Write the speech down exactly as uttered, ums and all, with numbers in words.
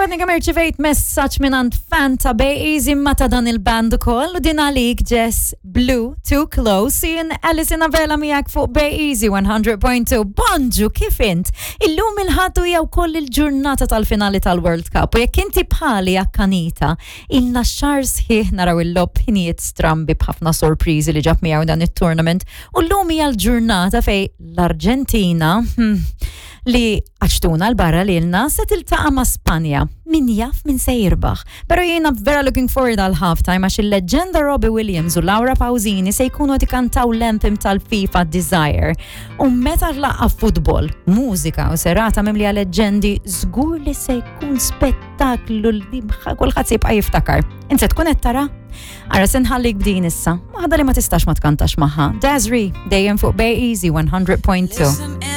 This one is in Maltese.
għadni kemm irċivejt messaġġ minn fan ta' Bay Easy ma ta' dan il-band ukoll u din għalik Jess Blue Too Close jien Alison Avella miegħek fuq Bay Easy one hundred point two. Bonġu, kif int? Illum il-Ħadd hija wkoll il-ġurnata tal-finali tal-World Cup u jekk inti bħali akkanita, ilna xahar sħiħ naraw il-logħob ħinijiet strambi b'ħafna sorpriżi li ġab miegħu dan it-tournament u llum hija l-ġurnata fej l-Arġentina hmm, li għaċtuna l-barra li l se tiltaqa ma' Spanja. Min jaf min se jirbaħ. Pero jiena vera looking forward għal halftime għax il-leġenda Robbie Williams u Laura Pausini se jkunu qed ikantaw l-anthem tal-FIFA, Desire. U meta laqqa futbol, mużika u serata mimlija leġendi, żgur li se jkun spettaklu li kulħadd se jibqa' jiftakar. Inti se tkun qed tara? Ara, se nħallik b'din issa. Waħda li ma tistax ma tkantax magħha. Desiree, dejjem fuq Bay Easy one hundred point two. Listen.